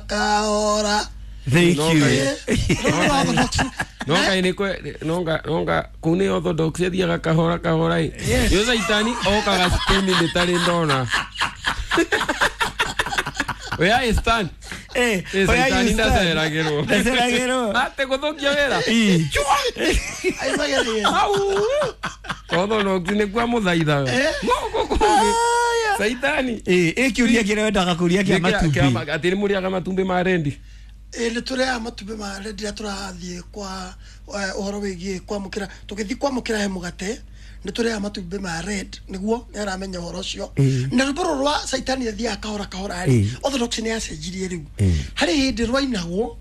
Kahora. Thank No, you. Orthodox. No ngai nĩ kwe no nga kũu nĩ orthodox ĩthiaga kahora kahora ĩ. Yes. Yo caitani okaga spini ndĩtarĩ ndona. Where I stand. Eh, Eh, where caitani you stand? ndaceragĩrwo. Ndaceragĩrwo. Ate gũthũkia wĩra. Ĩ. Ai magerie. Au. Orthodox nĩ kwa mũthaithaga. Gũkũ kũngĩ. Caitani. Ĩ, ĩ kĩũria kĩrĩa wendaga kũria kĩa matumbĩ. Atĩ nĩ mũrĩaga matumbĩ ma rendi. Ĩ nĩ tũrĩaga matumbĩ ma rendi rĩrĩa tũrathiĩ kwa ũhoro wĩgiĩ kwamũkĩra, tũgĩthiĩ kwamũkĩra he mũgate nĩ tũrĩaga matumbĩ ma red, nĩguo nĩ aramenya ũhoro ũcio. Na rwĩmbo rũrũ rwa caitani athiaga kahora kahora rĩ, Orthodox nĩ yacenjirie rĩu. Harĩ hĩndĩ rwainagwo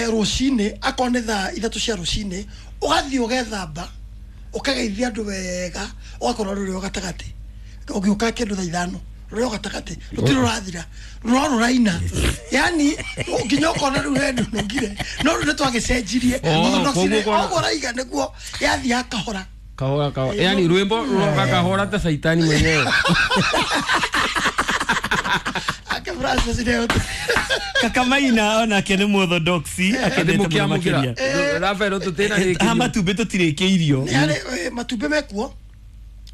rũcinĩ, akorwo nĩ thaa 3 cia rũcinĩ, ũgathiĩ ũgethamba, ũkageithia andũ wega, ũgakorwo rũrĩ o gatagatĩ, ũgĩũka kĩndũ thaa 5 rũrĩ o gatagatĩ, rũtirĩ rũrathira, no rũraina, yani nginya ũkona rĩu he ndũnũngire, no rĩu nĩ twagĩcenjirie. Oh, Orthodox koguo nĩ kona- ũguo ũraiga nĩguo yathiaga kahora Kahora kahora. Yani rwĩmbo rũroka kahora ta caitani mwenyewe. Ake Francis nĩ Kakamaina onake nĩ mũorthodoxi akendete mũno Mũkĩamũkĩra. makĩria. Rafael tũtĩna Ha rĩkĩrio. matumbĩ tũtirĩkĩirio. Nĩ harĩ matumbĩ mekuo,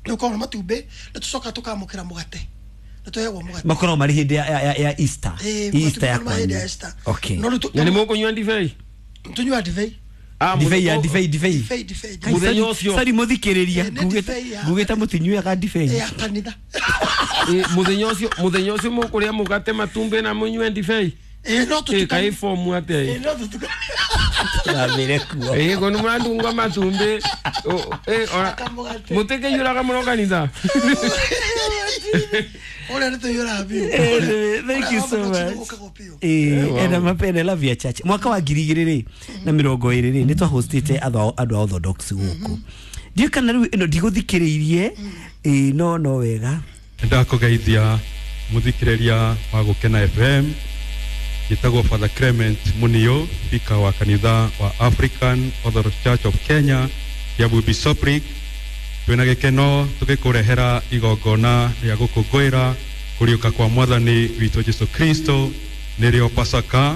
nĩ ũkoragwo na matumbĩ, nĩ tũcokaga tũkamũkĩra mũgate, nĩ tũheagwo mũgate. Makoragwo marĩ hĩndĩ ya Easter. Ĩ, Easter ya matumbĩ ma hĩndĩ ya kwanyu. Easter. Okay. No rĩu Na nĩ mũkũnyua ndibei? tũnyuaga ndibei. Ah, Ndibei ya mũthenya- ndibei ndibei. Ndibei, ndibei. Kai, Mũthenya sorry- ũcio. Sorry mũthikĩrĩria. Ĩ, nĩ ndibei ya- Ngugĩte mũtinyuaga ndibei. Ya kanitha. Ĩ, mũthenya ũcio mũkũrĩa mũgate matumbĩ na mũnyue ndibei. Ĩ, no Ĩ, kaĩ tũtukanie. fomu atĩa Ĩ, ĩ? no tũtukanie. Tũramĩre kuo. Ĩ, ko nĩ mũrandunga matumbĩ. Ĩ, ona- Akamũgate. mũtikĩiyũraga mũno kanitha. Ũrĩa nĩ tũiyũraga biũ. Anyway, thank you so Ũrĩa much. gũkagwo biũ. Ĩ, ena mapene love ya church. Mwaka wa 2020 rĩ, nĩ twahostĩte andũ a Orthodox gũkũ. Ndiũĩ kana rĩu ĩno ndigũthikĩrĩirie, ĩ, no wega. Ndakũgeithia mũthikĩrĩria wa Gũkena FM. Njĩtagwo Father Clement Munio, bika wa kanitha wa African Orthodox Church of Kenya, Kiambu Bishopric. Twĩna gĩkeno tũgĩkũrehera igongona rĩa gũkũngũĩra kũriũka kwa Mwathani witũ Jesu Kristo, nĩrĩo Pasaka.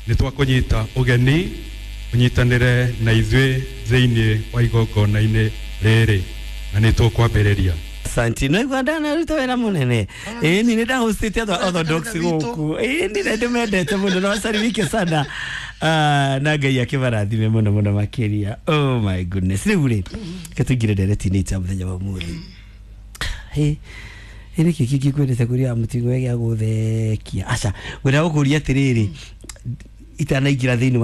Nĩ twakũnyita ũgeni ũnyitanĩre na ithuĩ thĩinĩ wa igongona-inĩ rĩrĩ, na nĩ tũkwambĩrĩria. Asante. No igua ndanaruta wĩra mũnene. Ĩ, ni nĩ ndahostĩte andũ a Orthodox gũkũ. Ĩ, ni nĩ ndĩmendete mũno na wasalimike sana. Ah, na Ngai akĩmarathime mũno mũno makĩria. Oh my goodness. Rĩu rĩ, reke tũingĩre ndereti-inĩ itũ ya mũthenya wa ũmũthĩ. Ĩ, ĩ nĩkĩ kĩngĩ ngwendete kũria mũtigo gĩa gũthekia? Aca, ngwenda gũkũria atĩrĩrĩ, itanaingĩra thĩinĩ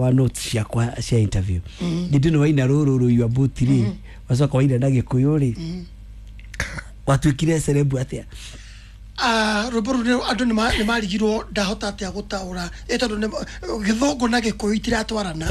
wa notes ciakwa cia interview. Hĩndĩ ĩno waina rũrũ rũiyũ mbuti rĩ, wacoka waina na Gĩkũyũ rĩ, watuĩkire celeb atĩa? Ah, rwĩmbo rũu andũ nĩ marigirwo ndahota atĩa gũtaũra, ĩ tondũ gĩthũngũ na gĩkũyũ itiratwarana.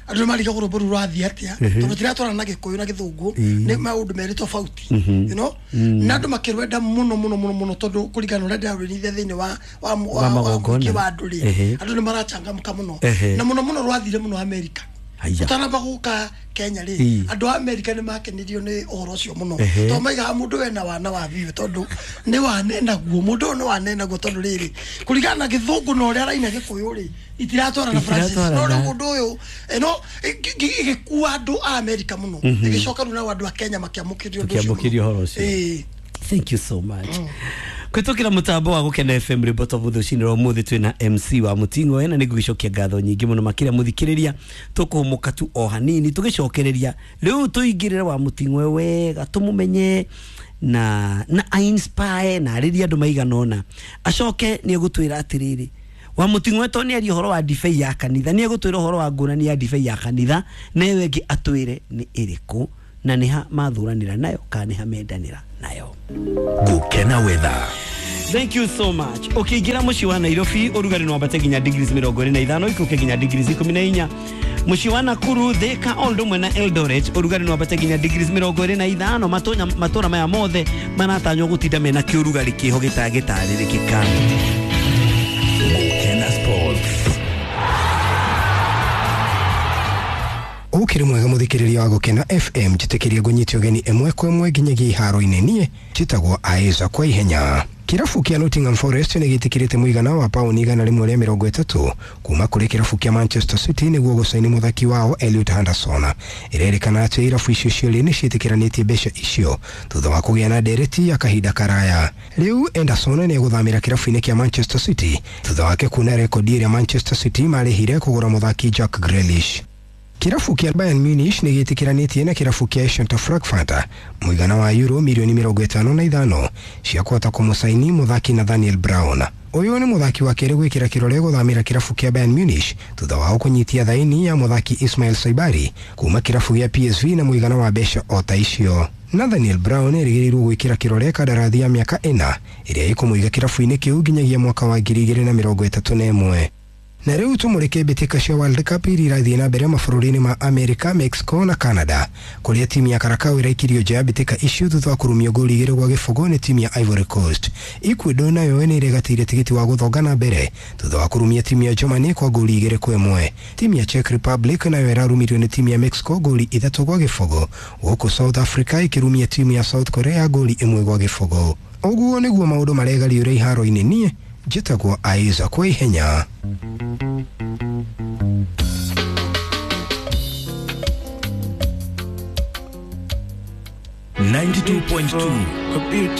Andũ nĩ marigagwo rwĩmbo rũu rwathiĩ atĩa, tondũ itiratwarana na gĩkũyũ na gĩthũngũ, nĩ maũndũ merĩ tofauti, you know? Na andũ makĩrwenda mũno mũno mũno mũno, tondũ kũringana na ũrĩa ndĩrarũinithia thĩinĩ wa Wa wa magongona. mũingĩ wa andũ rĩ, andũ nĩ marachangamka mũno. Na mũno mũno rwathire mũno Amerika. Haiya. Ũtanamba gũka Kenya rĩ, andũ a Amerika nĩ makenirio nĩ ũhoro ũcio mũno, tondũ maigaga mũndũ wena wana wa biũ, tondũ nĩ wanenaguo mũndũ ũyũ nĩ wanenaguo, tondũ rĩrĩ kũringana na gĩthũngũ na ũrĩa araina gĩkũyũ rĩ, itiratwarana Francis. No rĩu Itiratwarana. mũndũ ũyũ ĩno ĩgĩkua andũ a Amerika mũno, ĩgĩcoka rĩu nao andũ a Kenya makĩamũkĩrio ũndũ ũcio mũno. Makĩamũkĩria ũhoro ũcio. Ĩĩ. Thank you so much. Kũhĩtũkĩra mũtambo wa Gũkena FM rwĩmbo twa rũcinĩ rwa ũmũthĩ twĩna MC wa Mũting'oe, na nĩngũgĩcokia ngatho nyingĩ mũno makĩria mũthikĩrĩria. Tũkũhũmũka tu o hanini, tũgĩcokereria rĩu tũingĩrĩre wa Mũting'oe wega, tũmũmenye na a-inspire na arĩrie andũ maigana ũna. Acoke nĩ egũtwĩra atĩrĩrĩ, wa Mũting'oe to nĩ arie ũhoro wa ndibei ya kanitha, nĩ egũtwĩra ũhoro wa ngũrani ya ndibei ya kanitha, na ĩyo ĩngĩ atwĩre nĩ ĩrĩkũ, na nĩ ha mathuranĩra nayo kana nĩ ha mendanĩra nayo. Gũkena weather. Thank you so much. Ũkĩingĩra mũciĩ wa Nairobi ũrugarĩ no wambate nginya degrees 25, ikũke nginya degrees 14. Mũciĩ wa Nakuru, Thika, o ũndũ ũmwe na Eldoret ũrugarĩ no wambate nginya degrees 25. Matũra maya mothe maratanywo gũtinda mena kĩũrugarĩ kĩho gĩtangĩtarĩrĩkĩka. Gũkena sports. Ũkĩrĩ mwega mũthikĩrĩria wa Gũkena FM, njĩtĩkĩria ngũnyite ũgeni ĩmwe kwa ĩmwe nginyagia iharo-inĩ. Niĩ njĩtagwo Aiza kwa ihenya. Kĩrabu kĩa Nottingham Forest nĩ gĩtĩkĩrĩte mũigana wa pauni 130 kuma kũrĩ kĩrabu kĩa Manchester City nĩguo gũcaini mũthaki wao Elliot Henderson. Ĩrerĩkana atĩ irabu icio cierĩ nĩ ciĩtĩkĩranĩtie mbeca icio thutha wa kũgĩa na ndereti ya kahinda karaya. Rĩu Henderson nĩ egũthamĩra kĩrabu-inĩ kĩa Manchester City thutha wake kuna rekondi ĩrĩa Manchester City marĩhire kũgũra mũthaki Jack Grealish. Kĩrabu kĩa Bayern Munich nĩ gĩtĩkĩranĩtie na kĩrabu kĩa Eintracht Frankfurt mũigana wa euro mirioni 55 cia kũhota kũmũcaini mũthaki Nathaniel Brown. Ũyũ nĩ mũthaki wa kerĩ gwĩkĩra kĩrore gũthamĩra kĩrabu kĩa Bayern Munich thutha wao kũnyitia thaini ya mũthaki Ismail Saibari kuma kĩrabu gĩa PSV na mũigana wa mbeca o ta icio. Nathaniel Brown erĩgĩrĩirwo gwĩkĩra kĩrore kandarathi ya mĩaka 4 ĩrĩa ĩkũmũiga kĩrabu-inĩ kĩu nginyagia mwaka wa 2031. Na rĩu tũmũrĩke mbĩtĩka cia World Cup iria irathiĩ na mbere mabũrũri-inĩ ma Amerika, Mexico na Canada, kũrĩa timu ya Karakau ĩraikirio nja ya mbĩtĩka icio thutha wa kũrumio ngolu 2-0 nĩ timu ya Ivory Coast. Ecuador nayo nĩ ĩregatĩire tigiti wa gũthonga na mbere thutha wa kũrumia timu ya Germany kwa ngolu 2-1. Timu ya Czech Republic nayo ĩrarumirio nĩ timu ya Mexico ngolu 3-0, gũkũ South Africa ĩkĩrumia timu ya South Korea ngolu 1-0. Ũguo nĩguo maũndũ maregariũra iharo-inĩ. Niĩ njĩtagwo Isaac kwa ihenya. 92.2.